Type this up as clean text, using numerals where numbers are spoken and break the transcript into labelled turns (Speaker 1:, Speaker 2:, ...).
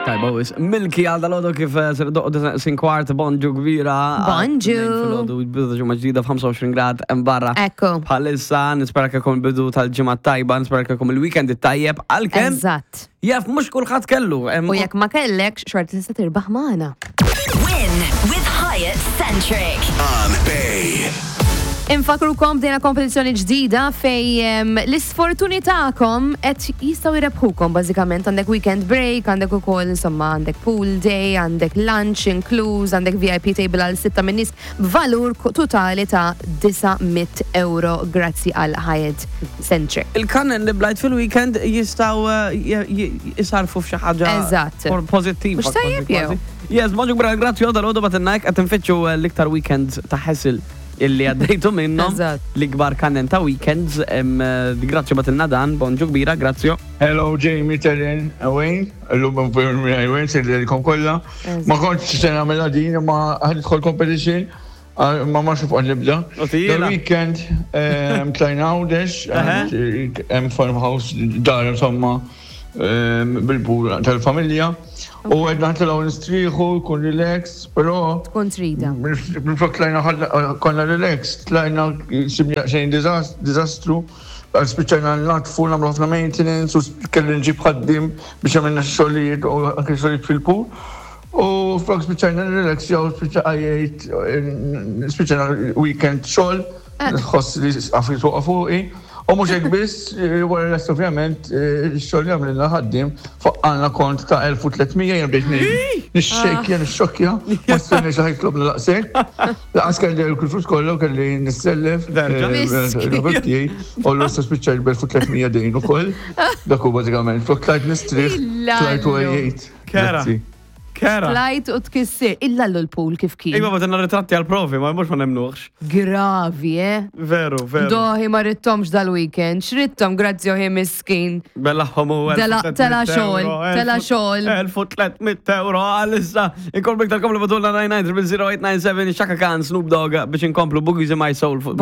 Speaker 1: Tajba wis. Milki għal dal-għodu kif eh, ser doqdu sin kwart bonġu kbira.
Speaker 2: Bonġu.
Speaker 1: Filgħodu bidu ta' ġimgħa ġdida f'25 grad hemm barra.
Speaker 2: Ekku.
Speaker 1: Bħalissa nispera kelkom il-bidu tal-ġimgħa tajba, nispera kelkom il-weekend it-tajjeb għalkemm
Speaker 2: Eżatt.
Speaker 1: jaf mhux kulħadd kellu. hemm-
Speaker 2: U jekk ma kellekx, xorta tista' tirbaħ magħna.
Speaker 3: Win with Hyatt Centric.
Speaker 4: On Bay.
Speaker 2: Infakrukom bdejna kompetizzjoni ġdida fej em, l-isfortuni tagħkom qed jistgħu jrebħukom bażikament għandek weekend break, għandek ukoll insomma għandek pool day, għandek lunch inkluż, għandek VIP table għal sitta minn nies b'valur ko- totali ta' 900 euro grazzi għal Hyatt Centric.
Speaker 1: Il-kannen li blajt fil-weekend jistaw eh, jisarfu f'xi ħaġa
Speaker 2: Eżatt.
Speaker 1: pozittiva.
Speaker 2: Mhux tajjeb
Speaker 1: kważi,
Speaker 2: jew?
Speaker 1: kważi. Yes, bonġu kbira, grazzi għoda l-għodu bat qed nfittxu eh, l-iktar weekends ta' ħessil illi għaddejtu minnhom.
Speaker 2: Eżatt.
Speaker 1: L-ikbar kannen ta' weekends. em, eh, Grazzi batilna dan, bonġu kbira, grazzi.
Speaker 5: Hello Jamie, Terren, Wayne, l-lum Wayne, sejlilkom kolla. Ma kontx se nagħmilha din, ma ħanidħol competition, ah, ma ma xuf nibda.
Speaker 1: U tila.
Speaker 5: The weekend, ehm, tlajna Għawdex, għand, hemm farmhouse dar insomma ehm, bil-bur tal-familja. U għedna ħtilgħu nistrieħu, kun relax, però
Speaker 2: Tkun trida.
Speaker 5: Minflok tlajna ħadna- konna relax, tlajna sibna xejn dizastru, spiċċajna natfu, nagħmlu ħafna maintenance, u kelli nġib ħaddim biex għamilna xogħlijiet u anke xogħlijiet fil-pool. U flok spiċċajna relax, jew spiċċajt, spiċċajna weekend xogħol, nħoss li għafri fuqa fuqi. U mhux hekk biss, eh, wara l-est ovvjament, eh, x-xogħol li għamlilna ħaddim faqqalna kont ta' 1300 jien bdejt nixxejkja, nixxokkja, ma stenniex li ħajtlobna daqshekk. Laqas kelli l-flus kollu kelli nissellef.
Speaker 1: Derġa.
Speaker 2: Miskin.
Speaker 5: Tiegħi, u l-issa spiċċajt b'1300 dejn ukoll. Dak hu bażikament, flok tlajt nistrieħ, tlajt u
Speaker 2: Illallu.
Speaker 5: għejjejt.
Speaker 1: Kera.
Speaker 5: Grazzi.
Speaker 1: Kera.
Speaker 2: Tlajt u tkissir. Illa l-pool kif kien.
Speaker 1: Iva batilna ritratti għal-provi, ma mhux ma nemnuħx.
Speaker 2: Gravi, eh?
Speaker 1: Veru, veru.
Speaker 2: Doħi ma rittomx dal-weekend, xrittom grazzi oħi miskin.
Speaker 1: Bella ħomu.
Speaker 2: Tela- tela xogħol, tela xogħol.
Speaker 1: 1300 euro għalissa. Inkomplu iktar komplu batulna 99 00897 Shaka Khan, Snoop Dogg biex inkomplu Boogies in My Soul fuq.